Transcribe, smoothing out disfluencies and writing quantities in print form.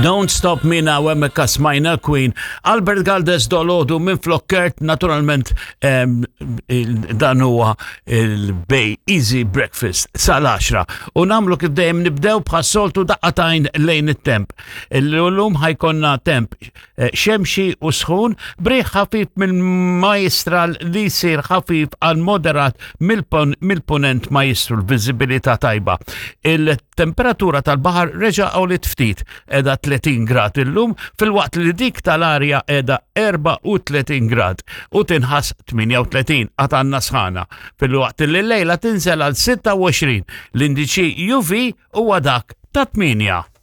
Don't Stop Me Now hemmhekk smajna Queen. Albert Galdes dolodu minn Flokkert, naturalment dan huwa il-Bay Easy Breakfast sal-10. U namlu kif dejjem nibdew bħas-soltu daqqatajn lejn it-temp. Illum ħajkonna temp eh, xemxi u sħun briħ ħafif mill-majstral li jsir ħafif għal moderat mill-punent majstru l-viżibilità tajba. Il-temperatura tal-baħar reġa' għolit ftit edha 30 grad illum filwaqt li dik tal-arja edha 34 grad u tinħass 38 għad għandna sħana filwaqt li l-lejla tinżel għal 26 l-indiċi UV huwa dak ta' 8.